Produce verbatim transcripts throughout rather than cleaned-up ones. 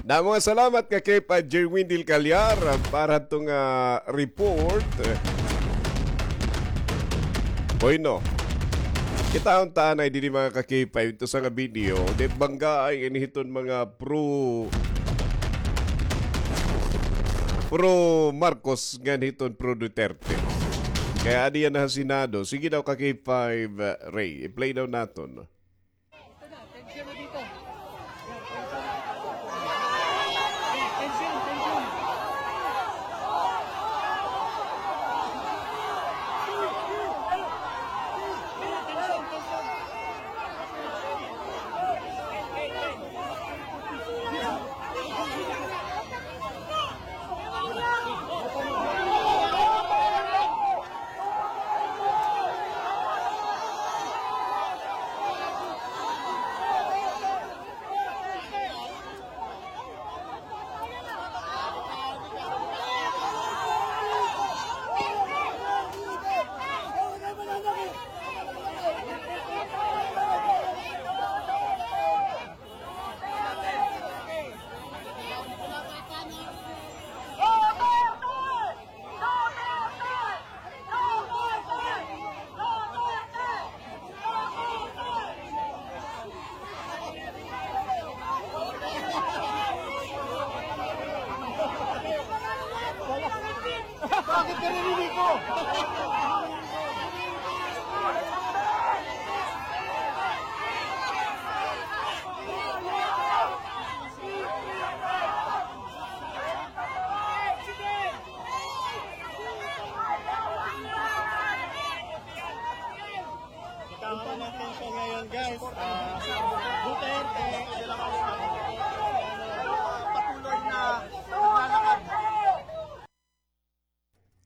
Damo nga salamat ka K five Jerwin Del Callar, ah, para hito nga report. Bueno, kita unta anay didi mga ka K five, ito sa nga video, di bangga ay ini hiton mga pro, pro Marcos ngan hiton pro Duterte. Kay adi yana ha Senado. Sige daw ka K five, ah, Ray, i-play daw naton. Bakit ka nililigo? Kita mo ang atensyon ngayon, guys. Ah, Duterte, patuloy na naglalakad.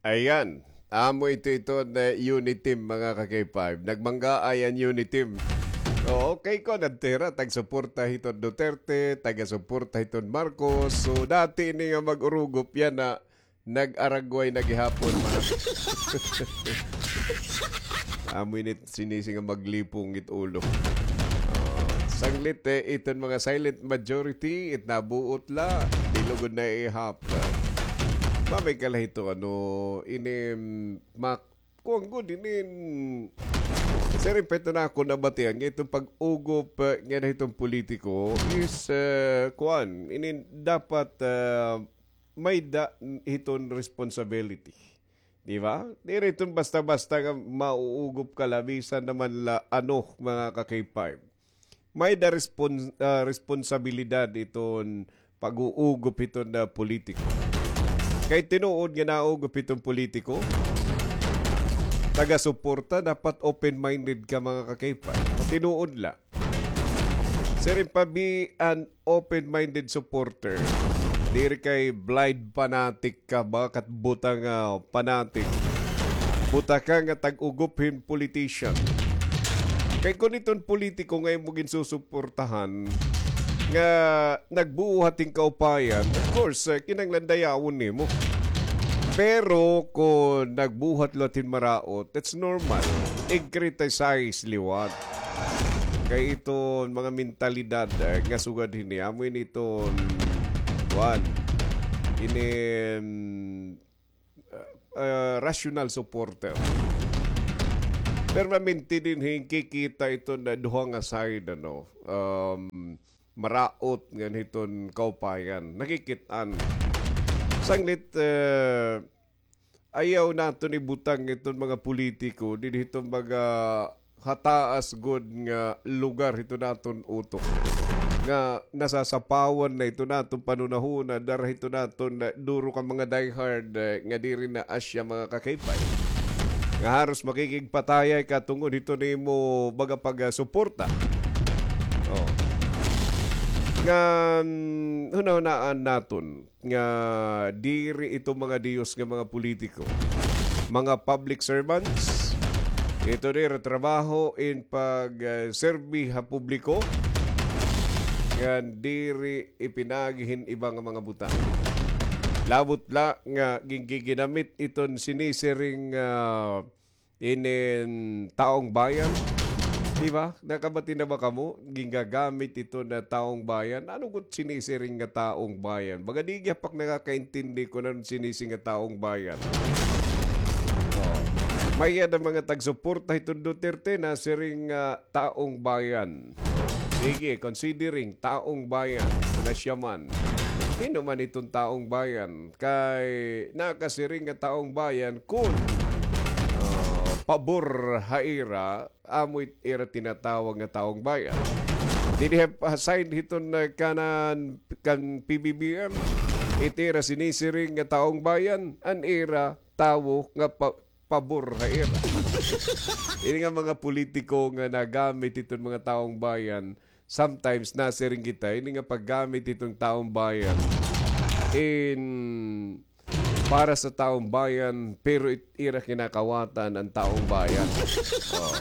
Ayan. Amo ito, ito na Uniteam, mga ka-K five. Nagmanggaay an Uniteam. Oo, kay ko nagtira, tagsuporta hiton Duterte, taga-suporta hiton Marcos. So, dati ini nga mag-urugop yana, nag-aragway na gihapon, mga. Amo ini sinisi nga maglipong it ulo. Ah, sanglit, eh, iton mga silent majority, it nabuot la, di lugod na ihap. Mamay ka la hito, ano, ini, mm, mak-, kuwan gud, ini, mm, sa respeto na ako nabatian, nga iton pag-ugop, eh, nga na hiton politiko is, eh, kuwan, ini dapat, eh, may-ada hiton responsibility. Di ba? Diri iton basta-basta nga mauugop ka la, bisan naman la ano, mga ka-K five. May-ada respons-, ah, responsabilidad iton pag-uugop hiton na politiko. Kay tinuod nga naugop hiton politiko, taga-suporta, dapat open-minded ka, mga ka-K five. Tinuod la. Siring pa, be an open-minded supporter. Diri kay blind fanatic ka, mga katbutang, ah, fanatic. Buta ka nga tag-ugop hin politician. Kay kun iton politiko nga imo ginsusuportahan, nga nagbuhat hin kaupayan, of course, eh, kinahanglan dayawon nimo. Pero kun nagbuhat liwat hin maraot, that's normal. I-criticize liwat. Kay iton mga mentalidad, eh, nga sugad hini, amo ini iton, kuan, ini, mm, ah, rational supporter. Permanente dinhi kikita iton na duha nga side, ano, um, maraot ngan hiton kaupayan. Nakikit-an. Sanglit, eh, ayaw naton ibutang iton mga politiko dinhi hiton mga hataas gud nga lugar hiton aton utok, nga nasasapawan na hiton aton panhunahuna, dara hiton aton, eh, duro ka mga diehard, eh, nga diri na asya, mga ka-K five, nga haros makikigpatayay ka tungod hiton imo baga pagsuporta. Oh. Nga, mm, hunahunaan naton nga diri ito mga diyos nga mga politiko. Mga public servants, ito diri trabaho in pag, ah, serbi ha publiko, nga diri ipinagi hin iba nga mga butang. Labot la nga gingiginamit iton sinisiring, ah, inin taong bayan, Di ba? Nakabati na ba kamo? Gingagamit ito na taong bayan. Ano gud sinisiring nga taong bayan? Baga di gihap ak nakakaintindi kun ano sinisiring nga taong bayan. Oh. May-ada mga tagsuporta hiton Duterte na siring nga taong bayan. Sige, considering taong bayan, na siya man. Sino man iton taong bayan? Kay nakasiring nga taong bayan kun, ah, pabor ha ira, amo it ira tinatawag nga taong bayan. Diri ha side hiton, ah, kanan kan P B B M, it ira sinisiring nga taong bayan, an ira tawo nga pa-, pabor ha ira. Ini nga mga politiko nga nagamit iton mga taong bayan, sometimes nasiring kita, ini nga paggamit iton taong bayan in para sa taong bayan, pero it-, ira kinakawatan an taong bayan. Oh.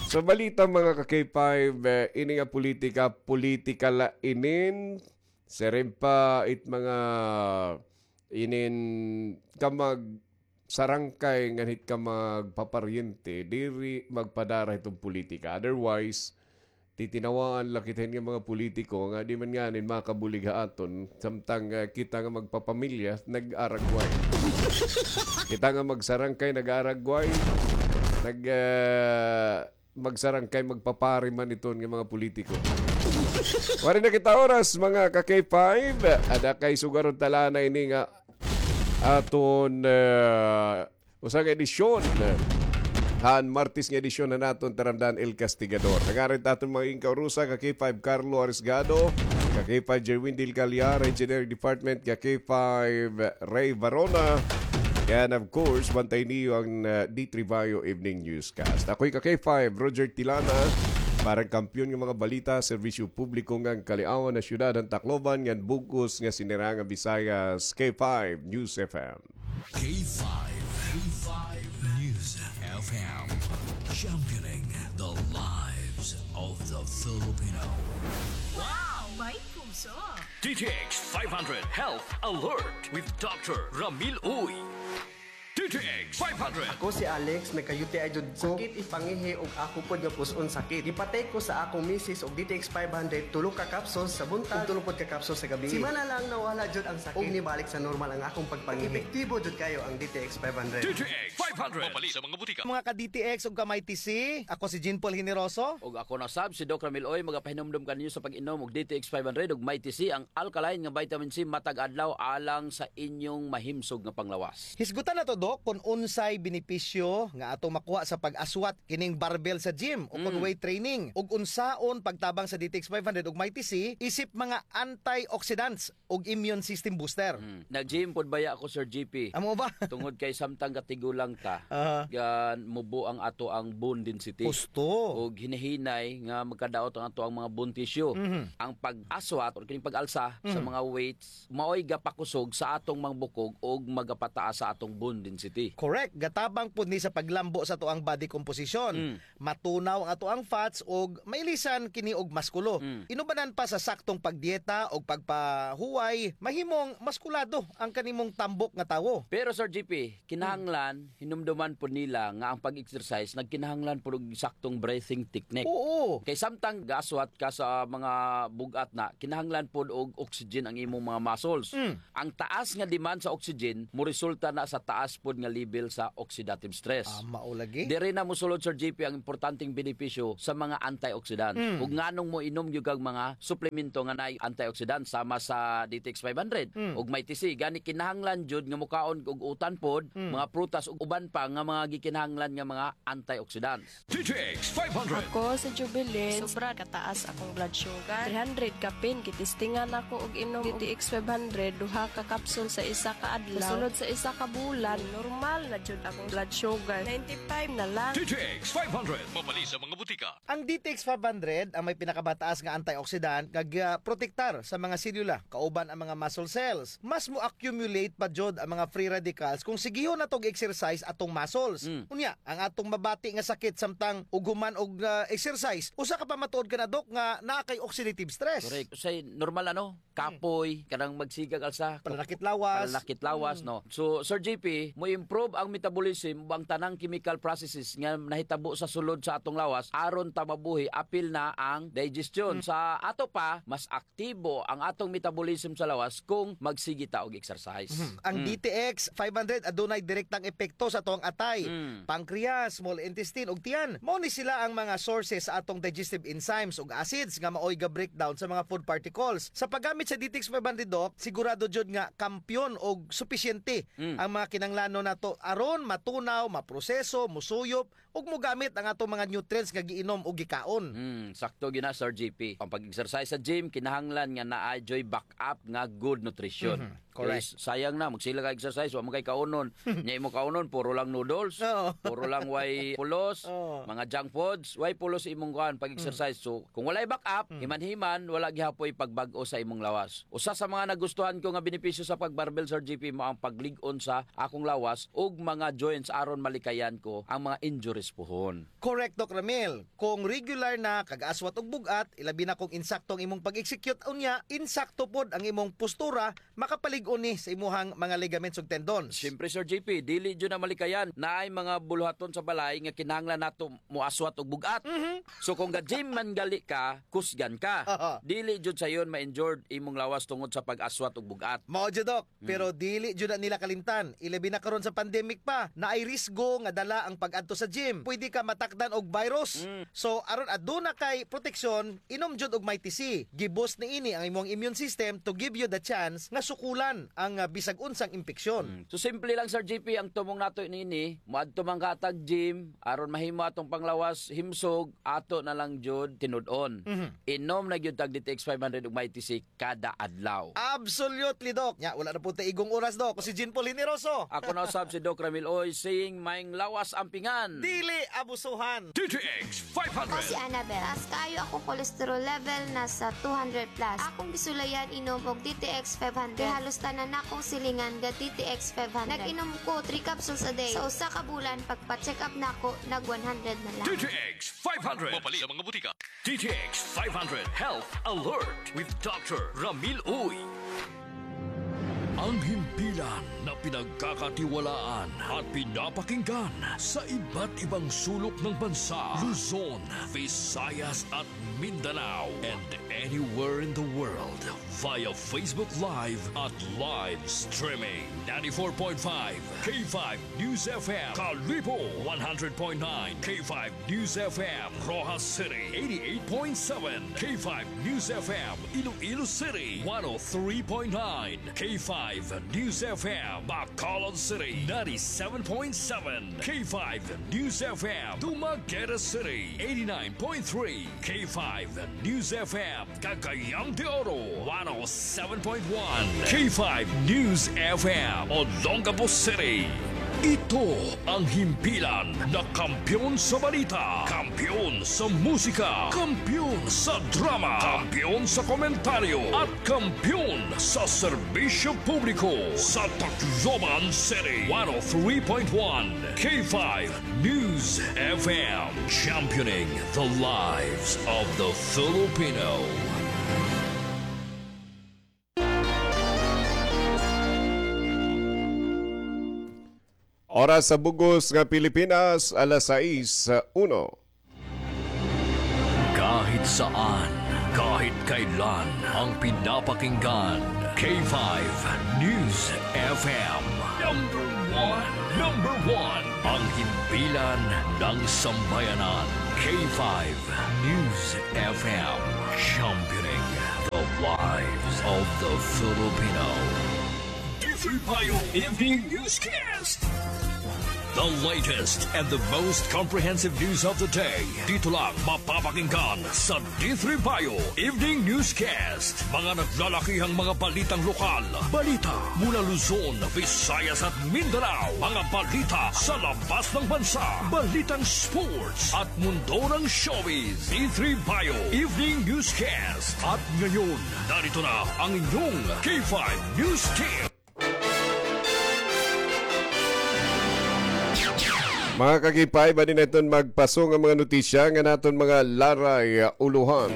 So, balita, mga ka-K five, eh, ini nga politika, politika la inin, siring pa it mga inin kamag-, sarangkay ngan hit kamagpaparyente, diri magpadara hiton politika. Otherwise, titinawaan la kita hin nga mga politiko nga di man nganin makabulig ha aton, samtang, ah, kita nga magpapamilya, nag-aragway. Kita nga magsarangkay, nag-aragway. Nag, ah, magsarangkay, magpapari man iton nga mga politiko. Waray na kita oras, mga ka-K five. Ada kay sugaron ta la na ini nga aton, ah, usa nga edisyon. Han Martes nga edisyon han aton Taramdan El Castigador. Nangarit aton mga inkaurusa, ka-K five Carlo Arisgado, ka-K five Jerwin Del Callar, Engineering Department, ka-K five Ray Varona, and of course, bantay niyo ang, ah, D three Bayo Evening Newscast. Ako'y ka-K five Roger Tilana, para han kampiyon nga mga balita, serbisyo publiko ngan kaliawan han syudad han Tacloban ngan bug-os nga sinirang nga Visayas, K five News F M. K five, K five News F M, championing the lives of the Filipino. Wow! May puso! D T X five hundred Health Alert with Doctor Ramil Uy. D T X five hundred. Ako si Alex, nagka-U T I jud ko. Sakit it pangihi ug ako pod nga pus-on sakit. Gipatake ko sa akong misis og D T X five hundred, tulo ka capsules sa buntag ug tulo pod ka capsules sa gabii. Simana lang nawala jud ang sakit ug nibalik sa normal ang akong pagpangihi. Epektibo jud kayo ang D T X five hundred. D T X five hundred. Mapalit sa mga butika. Mga ka-D T X ug ka-Mighty C, ako si Jean Paul Generoso. Ug ako na sab, si Doc Ramil Uy, magapahinumdom kaninyo sa pag-inom og D T X five hundred ug Mighty C, ang alkaline nga vitamin C matag adlaw alang sa inyong mahimsog nga panglawas. Hisgutan nato, Doc, kon unsay benepisyo nga atong makuha sa pag-aswat kining barbell sa gym o kon weight training, ug unsaon pagtabang sa D T X five hundred ug Mighty C isip mga antioxidants ug immune system booster. Mm. Nag-gym pod baya ako, Sir G P. Amo ba? Tungod kay samtang katigulang ta, gan mubo ang ato ang bone density. Husto. Ug hinahinay nga magkadaot ang ato ang mga bone tissue. Mhm. Ang pag-aswat or kining pag-alsa sa mga weights, maoy gapakusog sa atong mga bukog ug magapataas sa atong bone density. Correct. Gatabang pud ni sa paglambo sa ato ang body composition. Mm. Matunaw ang ato ang fats ug mailisan kini og maskulo. Mm. Inubanan pa sa saktong pagdieta ug pagpahuway, mahimong maskulado ang kanimong tambok nga tawo. Pero, Sir G P, kinahanglan, hinumduman pod nila nga ang pag-exercise nagkinahanglan pod og saktong breathing technique. Oo. Kay samtang gaaswat ka sa mga bug-at na, kinahanglan pod og oxygen ang imong mga muscles. Mm. Ang taas nga demand sa oxygen moresulta na sa taas pod nga level sa oxidative stress. Ah, mao lagi. Diri na mosulod, Sir G P, ang importanteng benepisyo sa mga antioxidants. Mm. Ug nganong moinom gyud kag mga suplemento nga naay antioxidant sama sa D T X five hundred ug Mighty C. Gani kinahanglan jud nga mokaon og utan pod, mga prutas ug uban pa nga mga gikinahanglan nga mga antioxidants. D T X five hundred. Ako si Jubilin. Sobra kataas akong blood sugar. Three hundred kapin, gitistingan ako og inom D T X five hundred, duha ka capsule sa isa ka adlaw. Mosulod sa isa ka bulan, normal na jud akong blood sugar. Ninety-five na lang. D T X five hundred. Mapalit sa mga butika. Ang D T X five hundred ang may pinakamataas nga antioxidant nga gaprotektar sa mga selula, kauban ang mga muscle cells. Mas mo-accumulate pa jud ang mga free radicals kung sigihon nato og exercise atong muscles. Mm. Unya, ang atong mabati nga sakit samtang ug human og, ah, exercise, usa ka pamatuod kana, Doc, nga naa kay oxidative stress. Correct. Usahay normal, ano? kapoy, kanang magsigag alsa. Pananakit lawas. Pananakit lawas, no? So, Sir J P, mo-improve ang metabolism o ang tanang chemical processes nga nahitabo sa sulod sa atong lawas aron ta mabuhi, apil na ang digestion. Sa ato pa, mas aktibo ang atong metabolism sa lawas kung magsigi ta og exercise. Mhm. Ang D T X five hundred adunay direktang epekto sa atong atay, pancreas, small intestine, ug tiyan. Mao ni sila ang mga sources sa atong digestive enzymes ug acids nga maoy ga-breakdown sa mga food particles. Sa paggamit sa D T X five hundred, Doc, sigurado jud nga kampiyon og supisyente ang mga kinahanglanon nato aron matunaw, maproseso, musuyop, ug mogamit ang atong mga nutrients nga giinom o gikaon. Hmm, sakto gyud na, Sir J P. Ang pag-exercise sa gym, kinahanglan nga naa juy backup nga good nutrition. Mhm, correct. Kay sayang na, magsige ka exercise, wa man kay kaunon. Nya imo kaunon, puro lang noodles, puro lang way pulos, mga junk foods, way pulos imong kuan pag-exercise. So, kung walay backup, himan-himan, wala gihapoy pagbag-o sa imong lawas. Usa sa mga nagustuhan ko nga benepisyo sa pag-barbell, Sir J P, mao ang paglig-on sa akong lawas ug mga joints aron malikayan ko ang mga injuries puhon. Correct, Doc Ramil. Kung regular na kag aswat ug bug-at, ilabi na kung insakto ang imong pag-execute, unya, insakto pod ang imong postura, makapalig-on ni sa imuhang mga ligaments ug tendons. Siyempre, Sir J P, dili jud na malikayan. Naay mga buluhaton sa balay nga kinahanglan nato moaswat og bug-at. Mhm. So, kung ga-gym man gali ka, kusgan ka. Aha. Dili jud sayon ma-injured imong lawas tungod sa pag-aswat og bug-at. Mao jud, Doc. Pero dili jud na nila kalimtan. Ilabi na karon sa pandemic pa, naay risgo nga dala ang pag-adto sa gym. Pwede ka matakdan og virus. So, aron aduna kay proteksyon, inom jud og Mighty C. Gi-boost niini ang imong immune system to give you the chance nga sukulan ang, ah, bisag unsang impeksyon. Mm. So, simple lang, Sir J P, ang tumong nato niini, moadto man ka tag gym, aron mahimo atong panglawas himsog, ato na lang jud tinud-on. Mhm. Inom na gyud tag D T X five hundred ug Mighty C kada adlaw. Absolutely, Doc. Nya, wala na po ta igong oras, Doc. Ako si Jean Paul Generoso. Ako na usab si Doc Ramil Uy, saying, maayong lawas ampingan. Dili abusuhan. D T X five hundred. Ako si Annabel. Taas kaayo akong cholesterol level, nasa two hundred plus. Akong gisulayan inom og D T X five hundred. Kay halos tanan nakong silingan ga D T X five hundred. Nag-inom ko three capsules a day. Sa usa ka bulan, pagpa-check up nako, nag one hundred na lang. D T X five hundred. Mapalit sa mga butika. D T X five hundred Health Alert with Doctor Ramil Uy. Ang himpilan na pinagkakatiwalaan at pinapakinggan sa iba't ibang sulok ng bansa, Luzon, Visayas at Mindanao, and anywhere in the world via Facebook Live at live streaming. Ninety-four point five K five News F M, Kalibo, one hundred point nine K five News F M, Roxas City, eighty-eight point seven K five News F M, Iloilo City, one oh three point nine K five News F M, Bacolod City, ninety-seven point seven K five News F M, Dumaguete City, eighty-nine point three K five News F M, Cagayan de Oro, one oh seven point one K five News F M, Olongapo City. Ito ang himpilan na kampiyon sa balita, kampiyon sa musika, kampiyon sa drama, kampiyon sa komentaryo, at kampiyon sa serbisyo publiko sa Tacloban City. One oh three point one K five News F M, championing the lives of the Filipino. Oras sa bug-os nga Pilipinas, alas sais uno. Kahit saan, kahit kailan, ang pinapakinggan, K five News F M. Number one, number one, ang himpilan ng sambayanan, K five News F M, championing the lives of the Filipino. D three Bayo Evening Newscast. The latest and the most comprehensive news of the day. Dito lang mapapakinggan sa D three Bayo Evening Newscast. Mga naglalakihang mga balitang lokal. Balita mula Luzon, Visayas at Mindanao. Mga balita sa labas ng bansa. Balitang sports at mundo ng showbiz. D three Bayo Evening Newscast. At ngayon, narito na ang inyong K five News Team. Mga ka-K five, adi na iton magpasong nga mga notisya nga naton mga laray, uh, ulohan.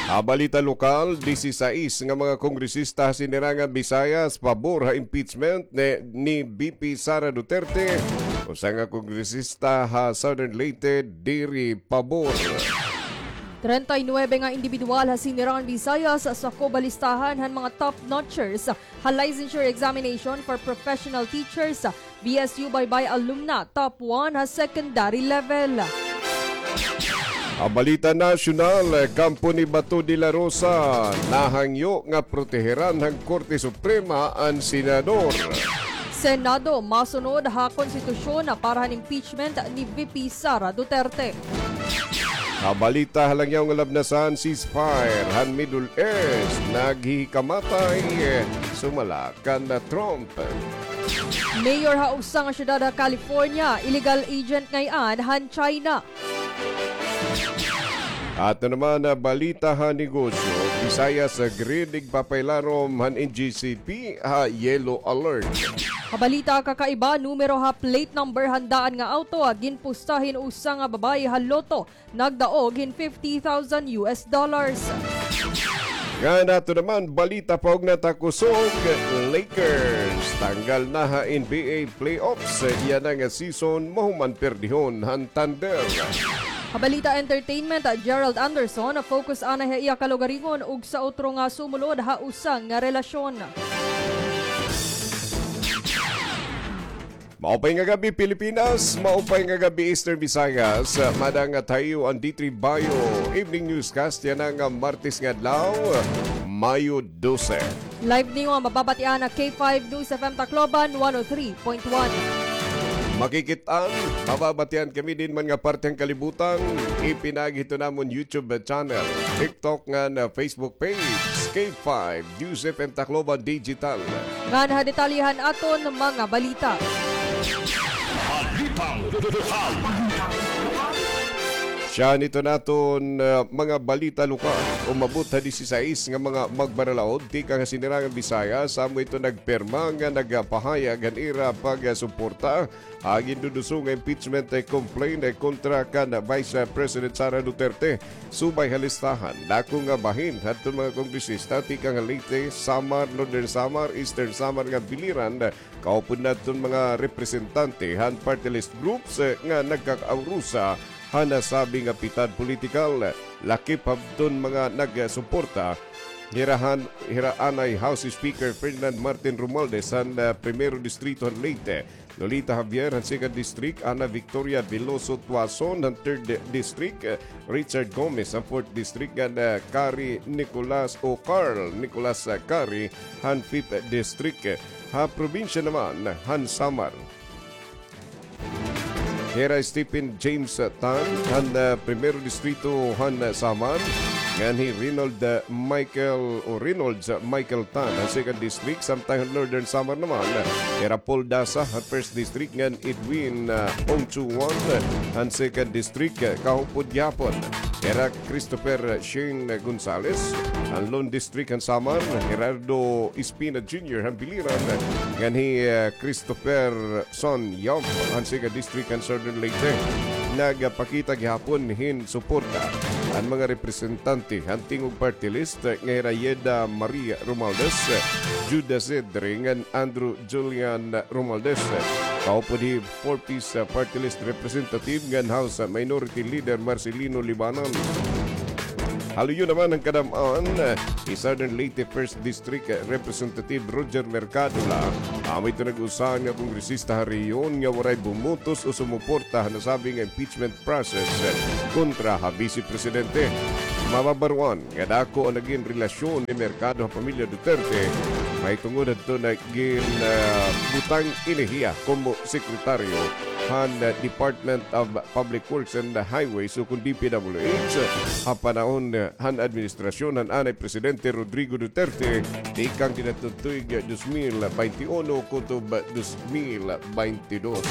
Ha balita lokal, disisais nga mga kongresista ha Sinirangan Visayas pabor ha impeachment ni, ni V P Sara Duterte. Usa nga kongresista ha Southern Leyte diri pabor. Treinta y nueve nga indibidwal ha Sinirangan Visayas sakob ha listahan han mga top notchers ha licensure examination for professional teachers, V S U Baybay alumna, top one ha secondary level. Ha balita nasyonal, kampo ni Bato de la Rosa, nahangyo nga proteheran han Korte Suprema an senador. Senado masunod ha konstitusyon para han impeachment ni V P Sara Duterte. Ha balita ha langyaw nga labnasan, ceasefire han Middle East, naghihikamatay, sumala kan Trump. Mayor ha usa nga syudad ha California, illegal agent ngay-an han China. Ato naman nga balita ha negosyo, Visayas Grid igpapailarom han N G C P ha yellow alert. Ha balita kakaiba, numero ha plate number han daan nga auto ginpusta hin usa nga babaye ha lotto, nagdaog hin fifty thousand U S dollars. Ngan ato naman balita paugna ta kusog, Lakers tanggal na ha N B A playoffs. Yana nga season mahuman perdihon han Thunder. Ha balita entertainment, Gerald Anderson focus anay ha iya kalugaringon ug sa utro nga sumulod ha usa nga relasyon. Maupay nga gab-i, Pilipinas. Maupay nga gab-i, Eastern Visayas. Madang nga tayo an D three Bio Evening Newscast yana nga Martes nga adlaw, Mayo dose. Live niyo nga mababatian ha K five News F M Tacloban one oh three point one. Makikit-an, mababatian kami din man nga parte han kalibutan. Ipinaagi hito namon YouTube channel, TikTok ngan Facebook page, K five News F M Tacloban Digital. Ngan ha detalye han aton mga balita. Balitang lokal. Siya nito naton, ah, mga balita lokal. Umabot ha disisais nga mga magbaralaod tikang ha Sinirangan Visayas, amo ito nagpirma nga nagpahayag han ira pagsuporta ha ginduduso nga impeachment complaint kontra kan Vice President Sara Duterte. Subay ha listahan, dako nga bahin hadton mga kongresista tikang ha Leyte, Samar, Northern Samar, Eastern Samar nga biliran, kaupod na hadton mga representante han party list groups nga nagkakaurusa han nasabi nga pitad politikal. Lakip hadton mga nagsuporta, hira han, hira anay House Speaker Ferdinand Martin Romualdez han, ah, Primero Distrito han Leyte, Lolita Javier han Second District, Ana Victoria Veloso Tuason han Third District, eh, Richard Gomez han Fourth District, ngan, eh, Kari Nicolas o Carl Nicolas, eh, Kari han Fifth District. Ha probinsya naman han Samar, hira Stephen James Tan han, ah, Primero Distrito han, ah, Samar, ngan hi Reynold, ah, Michael o Reynolds, ah, Michael Tan han Second District, samtang han Northern Samar naman, ah, hira Paul Dasa han First District ngan Edwin, ah, Ongchuan han Second District, ah, kaupod gihapon hira Christopher Shane Gonzales han Lone District han Samar, Gerardo Espina Junior han Biliran, ngan hi, ah, Christopher Son Yap han Second District han Southern Leyte. Nagpakita gihapon hin suporta an mga representante han Tingog Party List nga hira Yeda Marie Romualdez, Judah Cedre ngan Andrew Julian Romualdez. Kaupod hi Four Ps Party List Representative ngan House Minority Leader Marcelino Libanan. Ha luyo naman han kadam-an, hi Southern Leyte First District Representative Roger Mercado la, amo ito nag-usahan nga kongresista ha rehiyon nga waray bumotos o sumuporta ha nasabi nga impeachment process kontra ha Vice Presidente. Mababaroan nga dako an nagin relasyon ni Mercado ha pamilya Duterte, mahitungod hadton nagin, ah, butang ini hiya komo sekretaryo han, ah, Department of Public Works and Highways o kon D P W H ha panahon, ah, han administrasyon han anay Presidente Rodrigo Duterte tikang dinadton tuig dos mil baynte uno kutob dos mil baynte dos.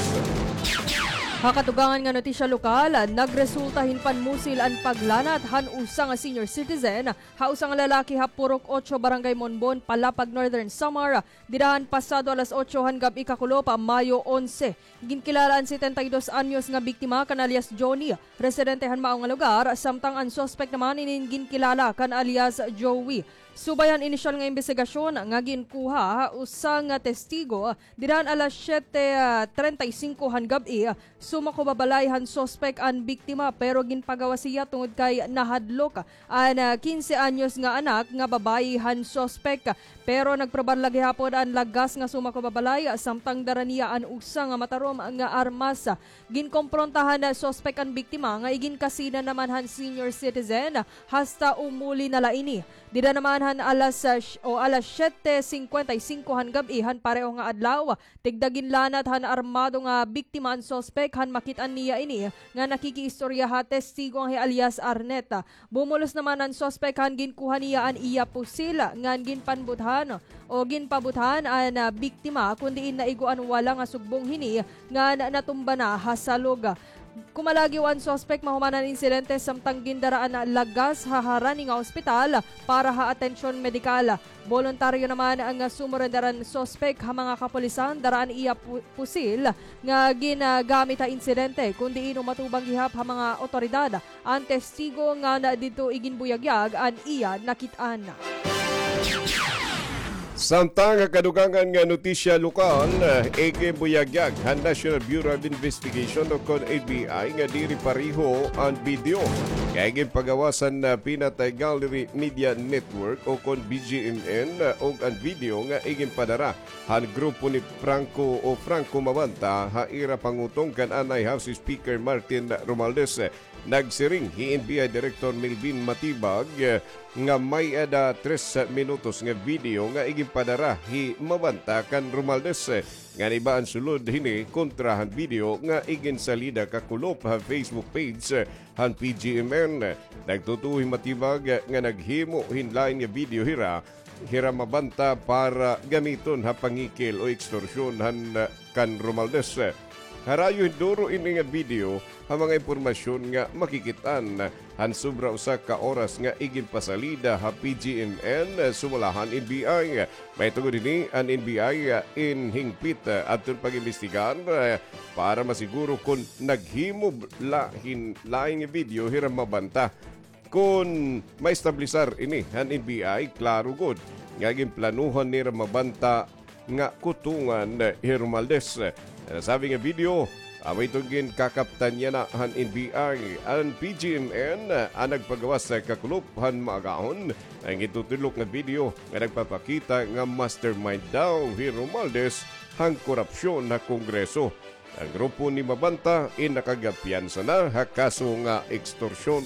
Ha katugangan nga notisya lokal, nagresulta hin panmusil an paglanat han usa nga senior citizen ha usa nga lalaki ha Purok Ocho, Barangay Monbon, Palapag, Northern Samar, dida han pasado alas otso han gab-i kakulop, Mayo onse. Ginkilala an setenta y dos anyos nga biktima kan alias Johnny, residente han mao nga lugar, samtang an suspek naman inin ginkilala kan alias Joey. Subay han inisyal nga imbestigasyon nga ginkuha ha usa nga testigo, dida han alas siyete, ah, treinta y cinco han gab-i, sumakob ha balay han suspek an biktima, pero ginpagawas hiya tungod kay nahadlok an, ah, kinse anyos nga anak nga babayi han suspek. Pero nagprobar la gihapon an lagas nga sumakob ha balay, samtang dara niya an usa nga matarom nga armas. Ginkompronta han suspek an biktima nga iginkasina naman han senior citizen hasta umuli na la ini. Dida naman han alas, ah, sh-, o alas siyete cincuenta y cinco han gab-i han pareho nga adlaw, tigda ginlanat han armado nga biktima an suspek han makit-an niya ini nga nakikiistorya ha testigo nga hi alias Arneta. Bumulos naman an suspek han ginkuha niya an iya pusil ngan ginpanbuthan o ginpabuthan an, ah, biktima, kun diin naigo an wala nga sugbong hini ngan natumba na ha salog. Kumalagiw an suspek mahuman an insidente samtang gindara an lagas ha harani nga ospital para ha atensyon medikal. Boluntaryo naman nga sumurender an suspek ha mga kapulisan, dara an iya pu-, pusil nga ginagamit ha insidente, kun diin umatubang gihap ha mga awtoridad an testigo ngan didto iginbuyagyag an iya nakit-an. Samtang ha kadugangan nga notisya lokal, iginbuyagyag han National Bureau of Investigation o kon N B I nga diri pareho an video nga iginpagawas han, ah, Pinatay Gallery Media Network o kon B G M N, ah, ug an video nga iginpadara han grupo ni Franco o Franco Mabanta ha ira pangutong kan anay House Speaker Martin Romualdez. Nagsiring hi N B I Director Melvin Matibag, eh, nga may-ada tres minutos nga video nga iginpadara hi Mabanta kan Romualdez, eh, ngan iba an sulod hini kontra han video nga iginsalida kakulop ha Facebook page, eh, han P G M N. Nagtutuo hi Matibag, eh, nga naghimo hin lain nga video hira hira Mabanta para gamiton ha pangikil o ekstorsyon han, ah, kan Romualdez. Harayo hin duro ini nga video ha mga impormasyon nga makikit-an han sobra usa ka oras nga iginpasalida ha P G M N, sumala han N B I. Mahitungod hini an N B I, ah, in hingpit, ah, adton pag-imbestigar, ah, para masiguro kon naghimo la hin lain nga video hira Mabanta. Kon maestablisar ini han N B I, klaro gud nga ginplanuhan nira Mabanta nga kutongan hi Romualdez. Nasabi nga video, amo iton ginkakaptan yana han N B I. An P G M N an nagpagawas kakulop han maagahon nga gintutudlok nga video nga nagpapakita nga mastermind daw hi Romualdez han korupsyon ha Kongreso. An grupo ni Mabanta in nakagapiyansa na ha kaso nga ekstorsyon.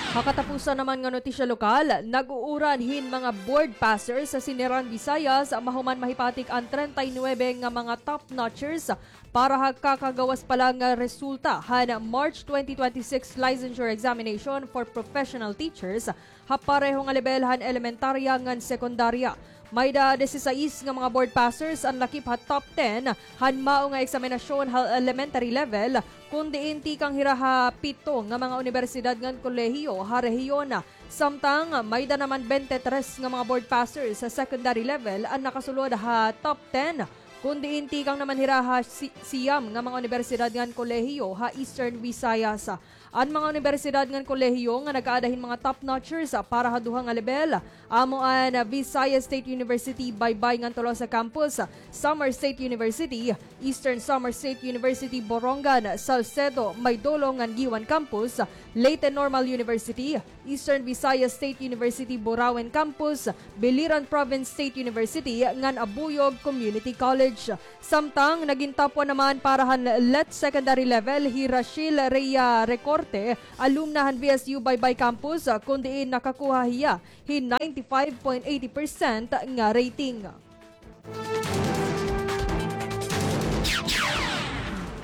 Ha katapusan naman nga notisya lokal, nag-uuran hin mga board passers ha Siniran Visayas mahuman mahipatik an treinta y nuebe nga mga top notchers para ha kakagawas pa la nga resulta han March twenty twenty-six Licensure Examination for Professional Teachers ha pareho nga lebel han elementarya ngan sekundarya. Mayda disisais nga mga board passers an lakip ha top ten han mao nga eksaminasyon ha elementary level, kun diin tikang hira ha pito nga mga unibersidad ngan kolehiyo ha rehiyon. Samtang mayda naman bente tres nga mga board passers ha secondary level an nakasulod ha top ten, kun diin tikang naman hira ha si-, siyam nga mga unibersidad ngan kolehiyo ha Eastern Visayas. An mga unibersidad ngan kolehiyo nga nag-aada hin mga top notchers para ha duha nga lebel, amo an Visayas State University Baybay ngan Tolosa Campus, Samar State University, Eastern Samar State University Borongan, Salcedo, Maydolong ngan Guiuan Campus, Leyte Normal University, Eastern Visayas State University Burauen Campus, Biliran Province State University ngan Abuyog Community College. Samtang nagin top one naman para han let secondary level hi Rachel Rhea Recorte, alumna han V S U Baybay Campus, kun diin nakakuha hiya hin ninety-five point eighty percent nga rating.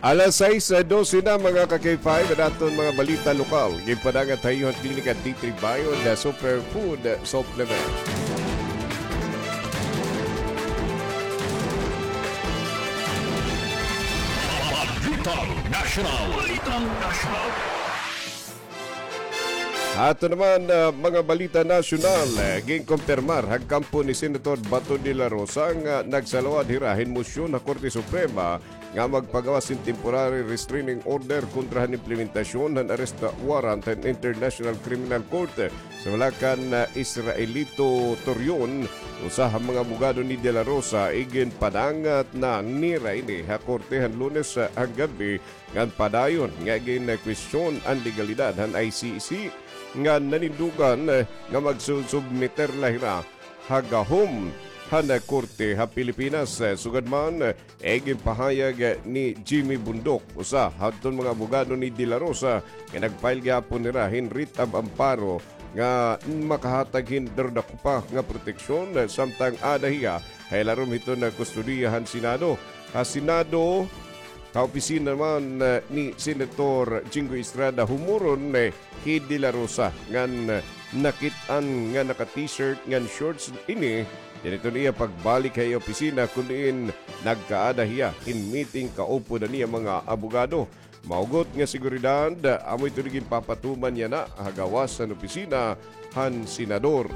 Alas sais dose na, mga ka-K five, an aton mga balita lokal. Ginpadangat ha iyo han klinika D three Bio, the superfood supplement. Balitang Nasyonal. Balitang Nasyonal. Ato naman, ah, mga balita nasyonal, eh, ginkumpirmar han kampo ni Senator Bato de la Rosa nga nagsaluwad hira hin mosyon ha Korte Suprema nga magpagawas hin temporary restraining order kontra han implementasyon han arrest warrant han International Criminal Court. Sumala kan, ah, Israelito Torion, usa ha mga abogado ni De La Rosa, iginpadangat na nira ini ha korte han Lunes, ah, han gab-i ngan padayon nga ginkwestiyon an legalidad han I C C ngan nanindugan, eh, nga magsusubmiter la hira ha gahom han korte ha Pilipinas. Eh, sugad man, eh, iginpahayag ni Jimmy Bundok, usa hadton mga abogado ni De La Rosa, nga nag-file gihapon hira hin writ of amparo nga makahatag hin darudakupa nga proteksyon, eh, samtang aada hiya ha ilarom hiton kustodiya han Senado. Ha Senado, ha opisina naman, eh, ni Senator Jinggoy Estrada, humuron, eh, hi De La Rosa ngan, eh, nakit-an nga naka-t-shirt ngan shorts ini. Dinhi hiton iya pagbalik ha iya opisina kon diin nagkaada hiya hin meeting kaupod han iya mga abogado. Mahugot nga seguridad, amo ito ginpapatuman yana ha gawas han opisina han senador.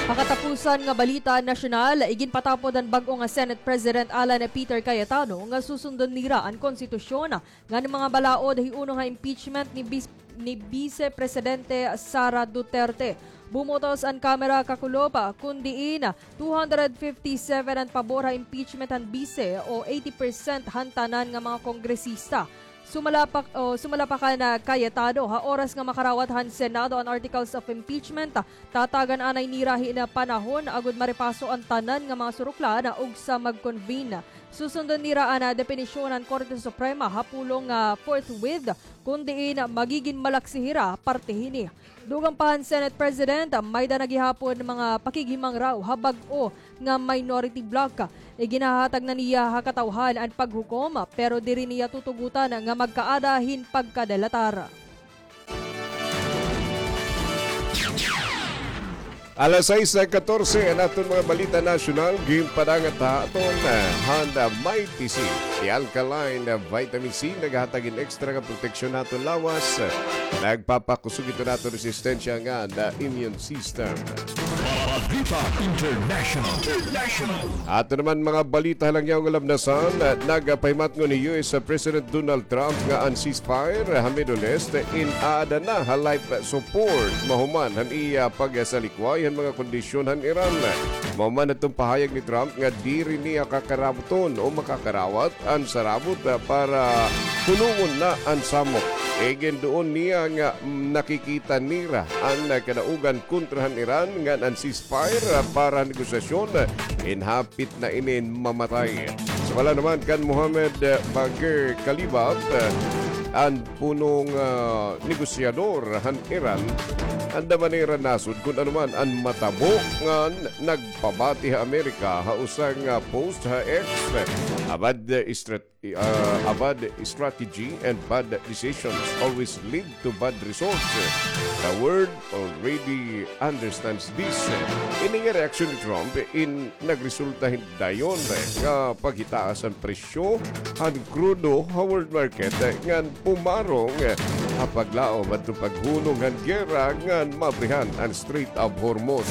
Ha katapusan nga balita nasyonal, iginpatapod han bag-o nga Senate President Alan Peter Cayetano nga susundon nira an konstitusyon ngan mga balaod hiunong ha impeachment ni Bis-, ni Vice Presidente Sara Duterte. Bumotos an Kamara kakulop, kon diin two hundred fifty-seven an pabor ha impeachment han Vice o eighty percent han tanan nga mga kongresista. Sumala pa, o, sumala pa kan Cayetano, ha oras nga makarawat han Senado an articles of impeachment, tatagan anay nira hin panahon agod maripaso an tanan nga mga suruklan ug sa mag-convene. Susundon nira an depinisyon han Korte Suprema ha pulong nga forthwith, kon diin magigin malaksi hira parte hini. Dugang pa han Senate President, may-ada na gihapon mga pakighimangraw ha bag-o nga minority bloc. Iginhahatag na niya ha katawhan an paghukom, pero diri niya tutugotan nga magkaada hin pagkadalatar. Alas sais katorse an aton mga balita nasyonal, ginpadangat ha aton, eh, han Mighty C, the alkaline, eh, vitamin C, naghahatag hin extra nga proteksyon ha aton lawas. Nagpapakusog ito han aton resistensya ngan immune system. Balita International. International. Ato naman mga balita ha langyaw nga lamnasan, nagpahimatngon hi U S President Donald Trump nga an ceasefire ha Middle East in aada na ha life support mahuman han iya pagsalikway han mga kondisyon han Iran. Mahuman hadton pahayag ni Trump nga diri niya kakarabuton o makakarawat an sarabot, ah, para hunongon na an samok. Iginduon niya nga, mm, nakikita nira an, ah, kadaugan kontra han Iran ngan an ceasefire, ah, para negosasyon, ah, in hapit na inin mamatay. Sumala naman kan Mohammed, ah, Bagher Khalibaf, ah, an punong, ah, negosyador han Iran, andam man nira nasod kon ano man an matabo ngan nagpabati ha Amerika ha usa nga post ha X. Abad, ah, strat-, ah, a bad strategy and bad decisions always lead to bad results. The world already understands this. Ini nga reaksyon ni Trump in nagresulta hin dayon nga paghitaas han presyo han krudo ha world market ngan pumarong ha paglaom adto paghunong han giyera ngan maabrihan an Strait of Hormuz.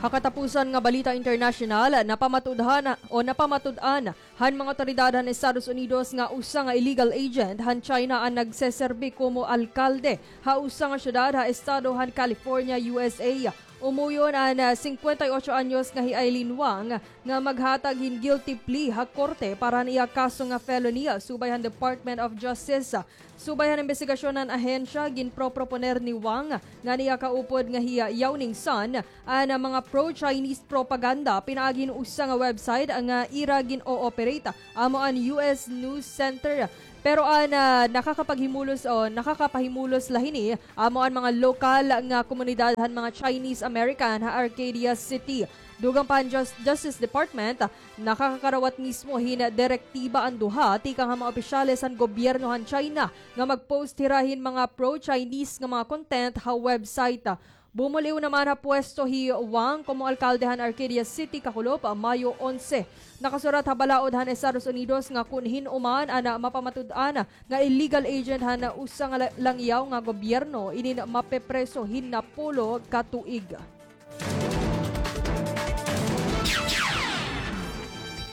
Ha katapusan nga balita internasyonal, napamatud-an o napamatud-an han mga awtoridad han Estados Unidos nga usa nga illegal agent han China an nagseserbi komo alkalde ha usa nga syudad ha estado han California, U S A. Umuyon an, ah, singkwenta y ocho anyos nga hi Aileen Wang nga maghatag hin guilty plea ha korte para han iya kaso nga felony, subay han Department of Justice. Subay han imbestigasyon han ahensya, ginproproponer ni Wang ngan iya kaupod nga hi Yao Ningsan an mga pro-Chinese propaganda pinaagi hin usa nga website nga ira gin-o-operate, amo an U S News Center. Pero an, ah, nakakapaghimulos o nakakapahimulos la hini, amo an mga lokal nga komunidad han mga Chinese American ha Arcadia City. Dugang pa han Jus-, Justice Department, nakakakarawat mismo hin direktiba an duha tikang ha mga opisyales han gobyerno han China nga mag-post hira hin mga pro-Chinese nga mga content ha website. Bumul-iw naman ha pwesto hi Wang komo alkalde han Arcadia City kakulop, Mayo onse. Nakasurat ha balaod han Estados Unidos nga kon hin-o man an mapamatud-an nga illegal agent han usa nga la-, langyaw nga gobyerno, inin mapepreso hin napulo ka tuig.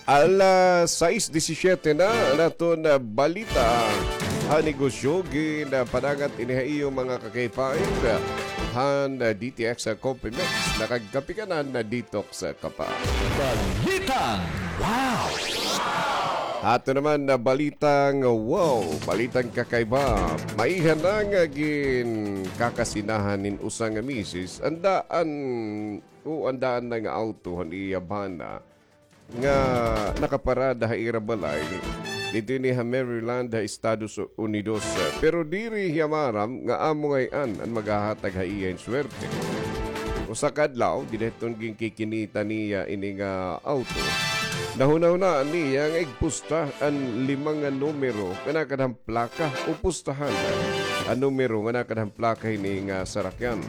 Alas sais disisiete na an aton, ah, balita han negosyo. Gin, ah, padangat ini ha iyo, mga ka-K five, han, ah, D T X, ah, Coffee Mix. Nakagkape ka na, na-detox ka pa. Balitang wow! Ato naman na balitang wow, balitang kakaiba. Maiha na nga ginkakasinahan hin usa nga misis an daan, o an daan na nga awto han iya bana nga nakaparada ha ira balay. Didto ini ha Maryland, ha Estados Unidos. Pero diri hiya maaram nga amo ngay-an an maghahatag ha iya hin swerte. Usa ka adlaw, dida hiton ginkikinita niya ini nga awto, nahunahunaan niya nga igpusta an lima nga numero nga nakada han plaka, o pustahan an numero nga nakada han plaka hini nga sarakyan.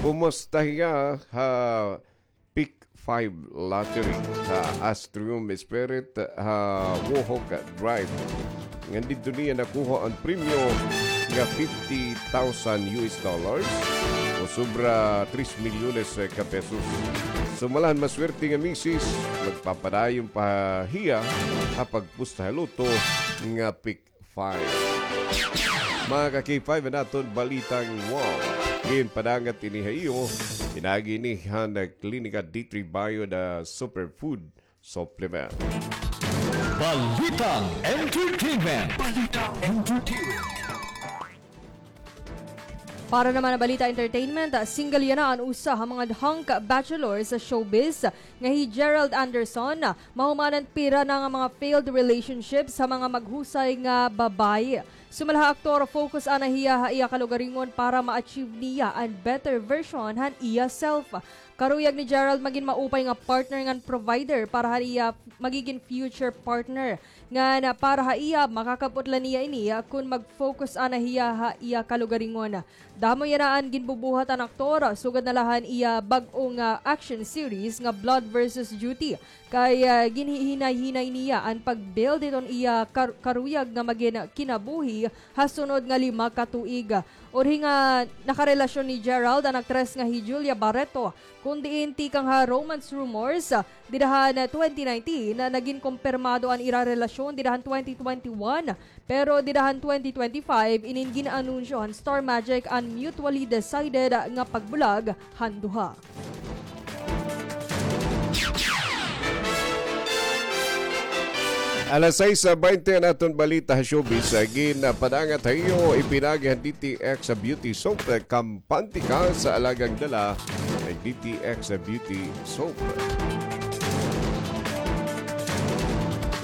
Pumusta hiya ha Pick Five Lottery, ha Astrium Spirit, ha Wohok Drive. Ngan didto niya nakuha an premyo nga fifty thousand U S dollars, o sobra tres milyones ka pesos. So, malahan maswerte nga misis, magpapadayon pa hiya ha pagpusta ha lotto nga Pick Five. Mga ka-K five, an aton balitang wow. Ginpadangat ini ha iyo, pinaagi ini han Klinika D three Bio, the superfood supplement. Balitang entertainment. Balitang entertainment. Para naman ha balita entertainment, single yana an usa ha mga hunk bachelor sa showbiz nga hi Gerald Anderson. Mahuman an pira na nga mga failed relationships ha mga maghusay nga babaye. Sumala ha aktor, focus ana hiya ha iya kalugaringon para ma-achieve niya an better version han iya self. Karuyag ni Gerald magin maupay nga partner ngan provider para ha iya magigin future partner. Ngan para ha iya, makakab-ot la niya ini kon mag-focus ana hiya ha iya kalugaringon. Damo yana an ginbubuhat an aktor, sugad na la han iya bag-o nga action series nga Blood versus Duty. Kay, ah, ginhihinay-hinay niya an pag-build hiton iya kar-, karuyag nga magin kinabuhi ha sunod nga lima ka tuig. Urhi nga nakarelasyon ni Gerald an aktres nga hi Julia Barreto, kon diin tikang ha romance rumors, ah, dida han twenty nineteen, ah, nagin kumpirmado an ira relasyon dida han twenty twenty-one, pero dida han twenty twenty-five, inin gin-anunsyo han Star Magic an mutually decided nga pagbulag han duha. Alas sais baynte an aton balita ha showbiz. Ginpadangat ha iyo, ipinaagi han D T X Beauty Soap, kampante ka sa alagang dala, an D T X Beauty Soap.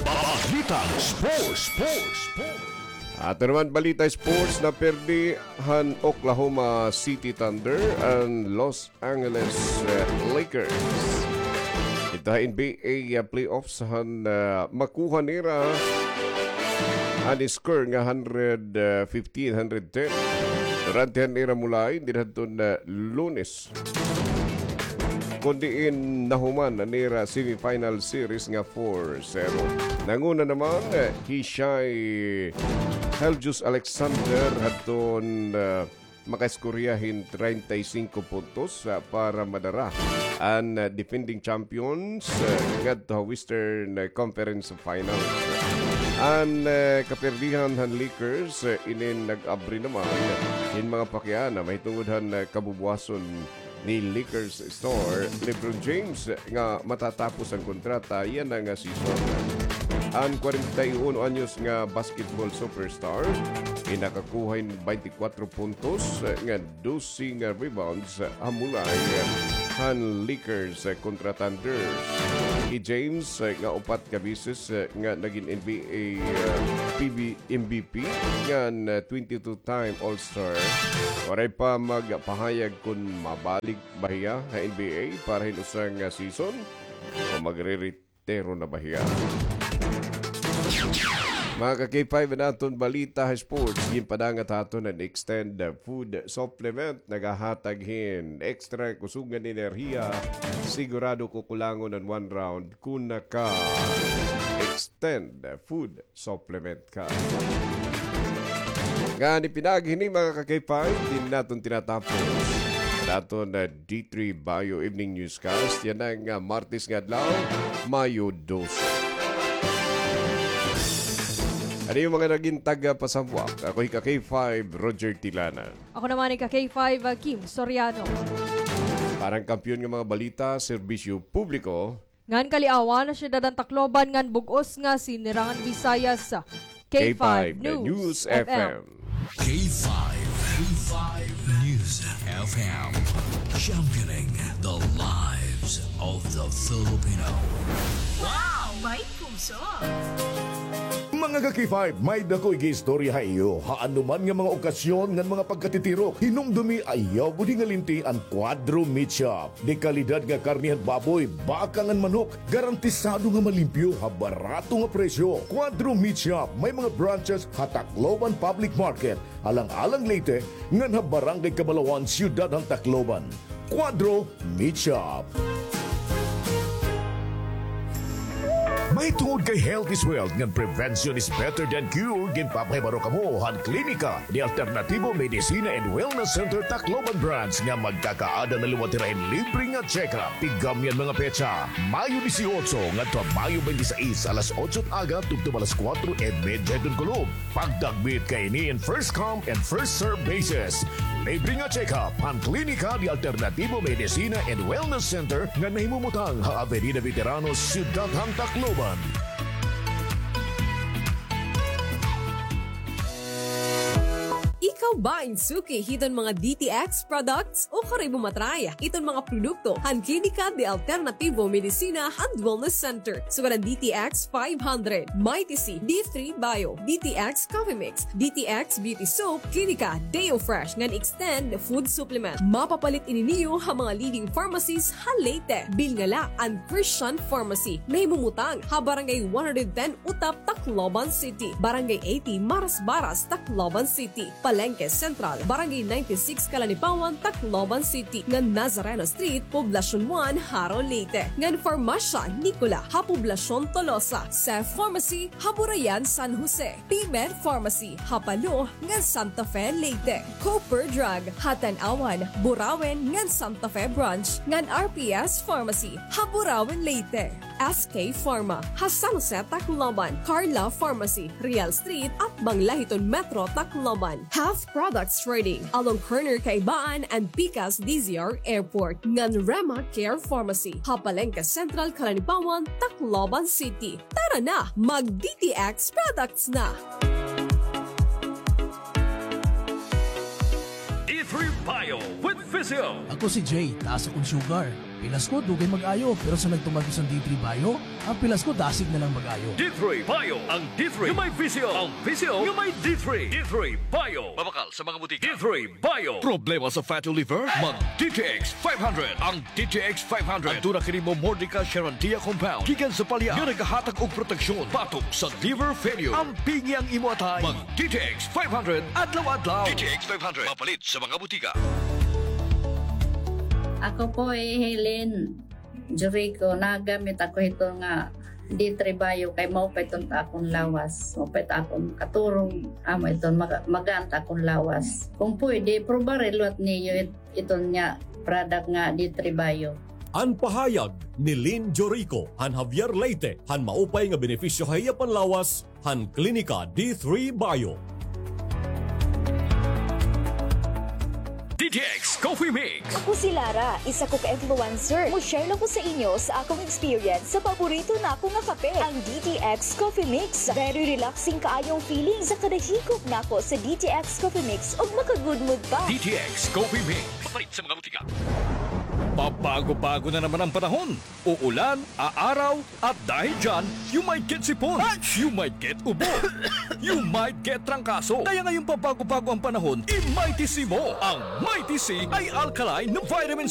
Balitang sports, sports, sports. Ato naman balita sports, napirdi han Oklahoma City Thunder an Los Angeles, eh, Lakers. Didto ha N B A, ah, playoffs han, ah, makuha nira an score nga hundred fifteen, hundred ten. Durante han ira mulain, dida hadton, ah, Lunes. Kon diin nahuman an ira semifinal series nga four zero. Nanguna naman, eh, hi Shai Gilgeous-Alexander hadton, ah, makaiskorya hin treinta y cinco puntos, ah, para madara an, ah, defending champions, ah, ngadto ha Western, ah, Conference Finals. An, ah, kapirdihan han Lakers, ah, inin nag-abri naman hin mga pakiana mahitungod han, ah, kabubuwason ni Lakers star LeBron James nga matatapos an kontrata yana nga season. An kwarenta y uno anyos nga basketball superstar ginakakuha hin baynte kwatro puntos nga dose nga rebounds ha mulay han Lakers kontra Thunder. Hi James nga upat ka beses nga nagin N B A, ah, P B, M V P ngan, ah, twenty-two-time All-Star, waray pa magpahayag kon mabalik ba hiya ha N B A para hin usa nga season o magreretiro na ba hiya. Mga ka-K five, an aton balita ha sports. Ginpadangat ha aton an Extend Food Supplement. Nagahatag hin extra kusog ngan enerhiya. Sigurado kukulangon an one round kon naka-Extend Food Supplement ka. Ngani pinaagi hini, mga ka-K five, dinhi naton tinatapos an aton, ah, D three Bio Evening Newscast. Yana nga, ah, Martes nga adlaw, Mayo dose. Ano yung mga naging taga-Pasambuak? Ako hi ka-K five, Roger Tilana. Ako naman hi ka-K five, ah, Kim Soriano. Para han kampiyon nga mga balita, serbisyo publiko, ngan kaliawan ha siyudad han Tacloban ngan bug-os nga sinirangan Visayas. K five News F M. K five, K five News F M. Championing the lives of the Filipino. Wow! May puso! Mga ka-K five, may dako igiistorya ha iyo. Ha anuman nga mga okasyon ngan mga pagkatitirok, hinumdumi, ayaw budi nga linti an Cuadro Meat Shop. De kalidad nga karne han baboy, baka ngan manok, garantisado nga malimpyo ha barato nga presyo. Cuadro Meat Shop, may mga branches ha Tacloban Public Market, Alang-alang Leyte, ngan ha Barangay Cabalawan, Siyudad han Tacloban. Cuadro Meat Shop. Mahitungod kay health is wealth ngan prevention is better than cure, ginpapahibaro kamo han Klinika de Alternativo Medicina and Wellness Center Tacloban Branch nga magkakaada na liwat hira hin libre nga check-up. Tigam niyan mga petsa, Mayo dieciocho ngadto ha Mayo twenty-six, alas otso han aga tubtob alas kuwatro y medya hiton kulop. Pagdagmit kay ini in first come and first serve basis. Libre nga check-up han Klinika de Alternativo Medicina and Wellness Center nga nahimumutang ha Avenida Veteranos, Siyudad han Tacloban. Ikaw ba in suki hiton mga D T X products? O kari mo matry iton mga produkto han Klinika de Alternativo Medicina and Wellness Center. Sugad an D T X five hundred, Mighty C, D three Bio, D T X Coffee Mix, D T X Beauty Soap, Klinika Deo Fresh ngan Extend Food Supplement. Mapapalit ini niyo ha mga leading pharmacies ha Leyte. Bilnga la an Christian Pharmacy, nahimumutang ha Barangay one hundred ten Utap, Tacloban City, Barangay eighty Marasbaras, Tacloban City, Palengke Central, Barangay ninety-six Calanipawan, Tacloban City, ngan Nazareno Street, Poblacion one, Jaro, Leyte, ngan Farmasya Nicola ha Poblacion Tolosa, Seth Pharmacy ha Burayan, San Jose, P-Med Pharmacy ha Palo ngan Santa Fe, Leyte, Cooper Drug ha Tanauan, Burauen ngan Santa Fe Branch, ngan R P S Pharmacy ha Burauen, Leyte. S K Pharma ha San Jose, Tacloban, Carla Pharmacy, Real Street, atbang la hiton Metro Tacloban. Health Products Trading, along corner Kaibaan and pikas D Z R Airport, ngan Rema Care Pharmacy ha Palengke Central, Calanipawan, Tacloban City. Tara na, mag D T X products na! D three Bio with Visio. Ako si Jay, taas akon sugar. Pilas ko, dugay mag-ayo, pero sa nagtuman ko sa D three Bio, an pilas ko dasig na lang mag-ayo. D three Bio, ang D three nga may Visio, ang Visio nga may D three. D three Bio. Mabakal sa mga butika. D three Bio. Problema sa fatty liver? Mag D T X five hundred. Ang D T X five hundred. Aduna kini Momordica charantia compound gikan sa palya nga nagahatag og proteksyon batok sa liver failure. Ampingi ang imo atay. Mag D T X five hundred adlaw-adlaw. D T X five hundred. Mapalit sa mga butika. Ako po hi Helen Jurico, nagamit ako hito nga D three Bio kay maupay iton ta akon lawas. Maupay ta akon katurog, amo iton maga-, magaan ta akon lawas. Kung pwede, probari liwat niyo it-, iton nga product nga D three Bio. An pahayag ni Lynn Jorico han Javier, Leyte, han maupay nga benepisyo ha iya panlawas han Klinika D three Bio. D T X Coffee Mix. Ako si Lara, isa ko ka influencer. Mo-share lang ko sa inyo sa akong experience sa paborito nako nga kape, ang D T X Coffee Mix. Very relaxing kaayong feeling sa kada hikop nako sa D T X Coffee Mix ug maka-good mood pa. D T X Coffee Mix. Mapalit sa mga butika. Pabago-bago na naman ang panahon. Uulan, aaraw, at dahil dyan, you might get sipon, you might get ubo, you might get trangkaso. Kaya ngayong pabago-bago ang panahon, i-Mighty C mo. Ang Mighty C ay alkaline na vitamin C